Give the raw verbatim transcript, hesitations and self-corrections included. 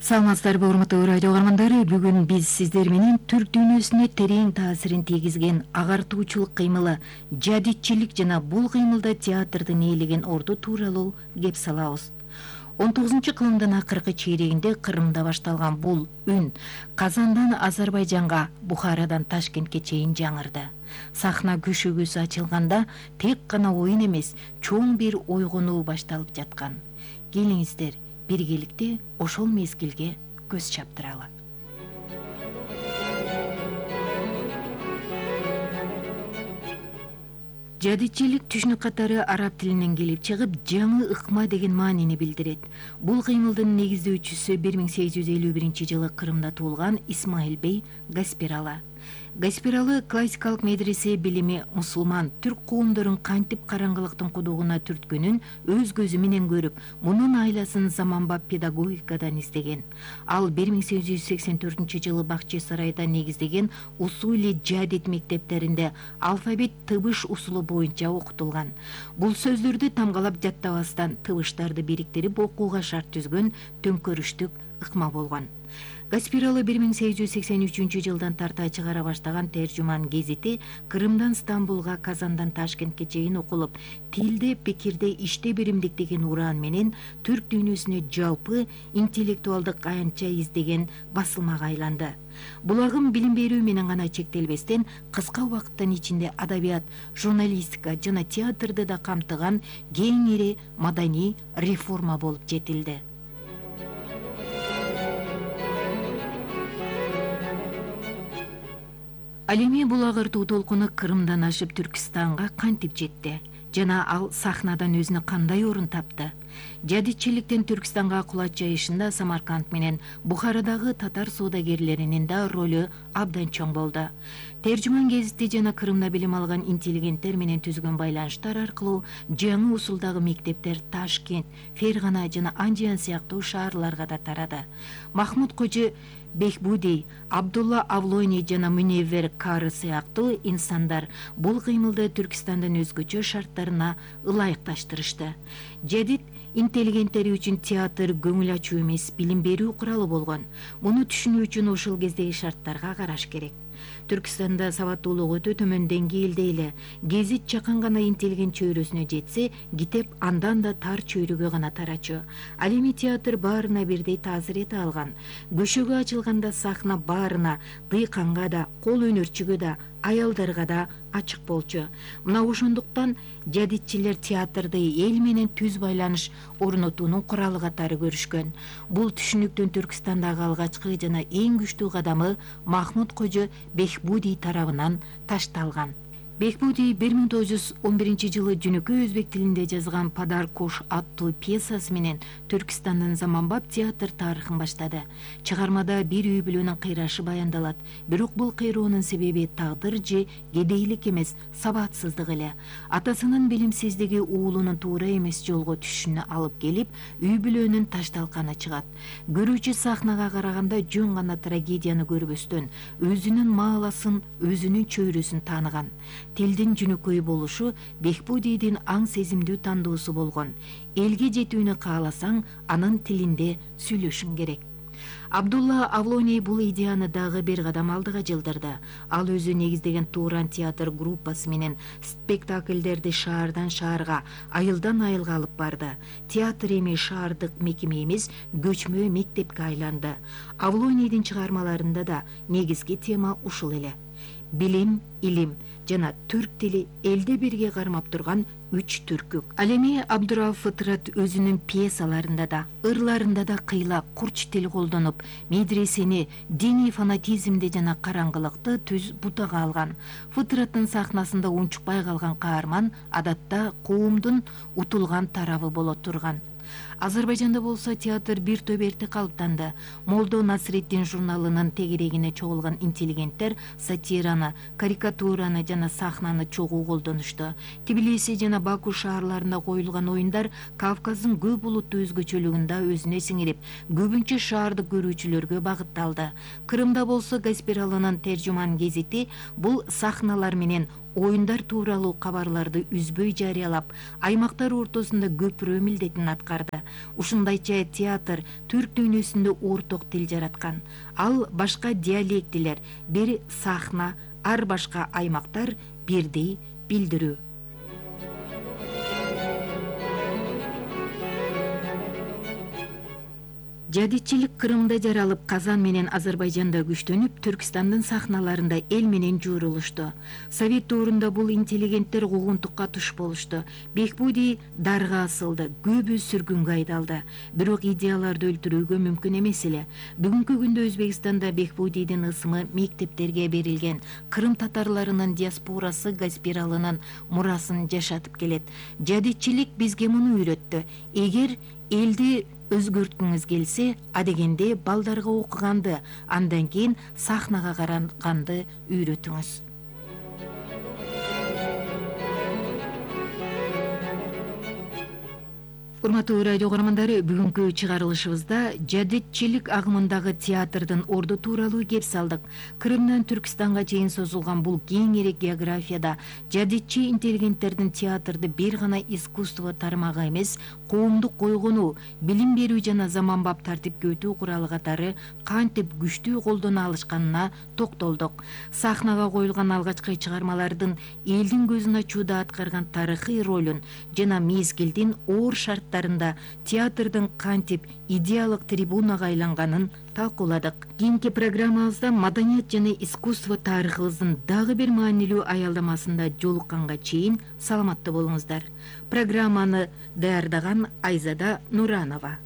Саламатсыздарбы, урматтуу радио угармандары. Бүгүн биз сиздер менен түрк дүйнөсүнө терең таасирин тийгизген агартуучулук кыймылы, жадитчилик жана бул кыймылда театрдын ээлеген орду тууралуу кеп салабыз. он тогузунчу кылымдын акыркы чейрегинде Кырымда башталган бул үн Казандан Азербайжанга, Бухарадан Ташкентке чейин жаңырды. Сахна көшөгөсү ачылганда тек гана оюн эмес, чоң бир ойгонуу башталып жаткан. Келиңиздер, биргеликте ошол мезгилге көз чаптыралы. Жадитчилик түшүнүк катары араб тилинен келип чыгып, жаңы ыкма деген маанини билдирет. Бул кыймылдын негиздөөчүсү бир миң сегиз жүз элүү биринчи жылы Кырымда туулган Исмаил бей Гаспирала. Гаспиралы классикалык медресе билими мусулман түрк коомдорун кантип караңгылыктын кудугуна түрткөнүн өз көзү менен көрүп, мунун айласын заманбап педагогикадан издеген. Ал бир миң сегиз жүз сексен төртүнчү жылы Бакчы сарайда негиздеген усули жадит мектептеринде алфавит тыбыш усулу боюнча окутулган. Бул сөздөрдү тамгалап жаттабастан тыбыштарды бириктирип окууга шарт түзгөн төңкөрүштүк ыкма болгон. Гаспиралы бир миң сегиз жүз сексен үчүнчү жылдан тарта чыгара баштаган Тержуман гезити Кырымдан Стамбулга, Казандан Ташкентке чейин окулуп, тилде, пикирде, иште биримдик деген ураан менен түрк дүйнөсүнө жалпы интеллектуалдык аянтча издеген басылмага айланды. Бул агым билим берүү менен гана чектелбестен, кыска убакыттын ичинде адабият, журналистика жана театрды да камтыган кең ири маданий реформа болуп жетилди. Ал эми бул агартуу толкуну Кырымдан ашып Түркистанга кантип жетти жана ал сахнадан өзүнө кандай орун тапты? Жадитчиликтен Түркистанга кулач жайышында Самарканд менен Бухарадагы татар соодагерлеринин да ролу абдан чоң болду. Тержуман гезити жана Кырымда билим алган интеллигенттер менен түзгөн байланыштар аркылуу жаңы усулдагы мектептер Ташкент, Фергана жана Анжан сыяктуу шаарларга да тарады. Махмуд Кожо Бехбуди, Абдулла Авлони жана Муневвер Кары сыяктуу инсандар бул кыймылды Түркистандын өзгөчө шарттарына ылайыкташтырышты. Жадит интеллигенттери үчүн театр көңүл ачуу эмес, билим берүү куралы болгон. Муну түшүнүү үчүн ошол кездеги шарттарга караш керек. Түркистанда сабаттуулук өтө төмөн деңгээлде эле. Гезит чакан гана интеллигент чөйрөсүнө жетсе, китеп андан да тар чөйрөгө гана тарачу. Ал эми театр баарына бирдей таасир эте алган. Көшөгө ачылганда сахна баарына, дыйканга да, кол өнөрчүгө да, аялдарга да ачык болчу. Мына ошондуктан жадитчилер театрды эл менен түз байланыш орнотуунун куралы катары көрүшкөн. Бул түшүнүктүн Түркистандагы алгачкы жана эң күчтүү кадамы Махмуд Кожо Бехбуди тарабынан ташталган. Бехбуди бир миң тогуз жүз он биринчи жылы жөнөкөй өзбек тилинде жазган Падар Кош аттуу пьесасы менен Түркистандын заманбап театр тарыхын баштады. Чыгармада бир үй бүлөнүн кыйрашы баяндалат, бирок бул кыйроонун себеби тагдыр же кедейлик эмес, сабатсыздык эле. Атасынын билимсиздиги уулунун туура эмес жолго түшүшүнө алып келип, үй бүлөнүн ташталканы чыгат. Көрүүчү сахнага караганда жөн гана трагедияны көрбөстөн, өзүнүн мааласын, өзүнүн чөйрөсүн тааныган. Тилдин жөнөкөй болушу Бехбудидин аң сезимдүү тандоосу болгон. Элге жетүүнү кааласаң, анын тилинде сүйлөшүң керек. Абдулла Авлони бул идеяны дагы бир кадам алдыга жылдырды. Ал өзү негиздеген Туран театр группасы менен спектакльдерди шаардан шаарга, айылдан айылга алып барды. Театр эми шаардык мекеме эмес, көчмө мектепке айланды. Авлонидин чыгармаларында да негизги тема ушул эле. Билим, илим жана түрк тили элде бирге кармап турган үч түркүк. Ал эми Абдурауф Фытрат өзүнүн пьесаларында да, ырларында да кыйла, курч тил колдонуп, медресени, диний фанатизмди жана караңгылыкты түз бутага алган. Фытраттын сахнасында унчукпай калган каарман адатта коомдун утулган тарабы боло турган. Азербайжанда болсо театр бир топ эрте калыптанды. Молдо Насреддин журналынын тегерегине чогулган интеллигенттер сатираны, карикатураны жана сахнаны чогуу колдонушту. Тбилиси жана Баку шаарларында коюлган оюндар Кавказдын көп улуттуу өзгөчөлүгүндө өзүнө сиңирип, көбүнчө шаардык көрүүчүлөргө багытталды. Кырымда болсо Гаспиралынын Тержуман гезити бул сахналар менен оюндар тууралуу кабарларды үзбөй жарыялап, аймактар ортосунда көпүрө милдетин аткарды. Ушундайча театр түрк дүйнөсүндө орток тил жараткан. Ал башка диалектилер, бир сахна, ар башка аймактар бирдей билдирүү. Жадичилик Кырымда жаралып, Казан менен Азербайжанда күчтөнүп, Түркистандын сахналарында эл менен жуурулушту. Совет доорунда бул интеллигенттер куугунтукка туш болушту. Бекбуди дарга асылды, көбү сүргүнгө айдалды. Бирок идеяларды өлтүрүүгө мүмкүн эмес эле. Бүгүнкү күндө Өзбекстанда Бекбудидин ысымы мектептерге берилген. Кырым татарларынын диаспорасы Гаспиралынын мурасын жашатып келет. Жадичилик бизге муну үйрөттү. Эгер элди өзгөрткүңүз келсе, адегенде балдарга окуганды, андан кийин сахнага караганды үйрөтүңүз. Урматтуу радио көрөрмандары, бүгүнкү чыгарылышыбызда жадитчилик агымындагы театрдын орду тууралуу кеп салдык. Кырымдан Түркистанга чейин созулган бул кең эрек географияда жадитчи интеллигенттердин театрды бир гана искусство тармагы эмес, коомдук койгонуу, билим берүү жана заманбап тартипке өтүү куралы катары кантип күчтүү колдоно алышканына токтолдук. Сахнага коюлган алгачкы чыгармалардын элдин көзүн ачууда аткарган тарыхый ролун жана мезгилдин оор шарттарын театрдын кантип идеялык трибунага айланганын талкууладык. Кийинки программабызда маданият жана искусство тарыхыбыздын дагы бир маанилүү аялдамасында жолукканга чейин саламатта болуңуздар. Программаны даярдаган Айзада Нуранова.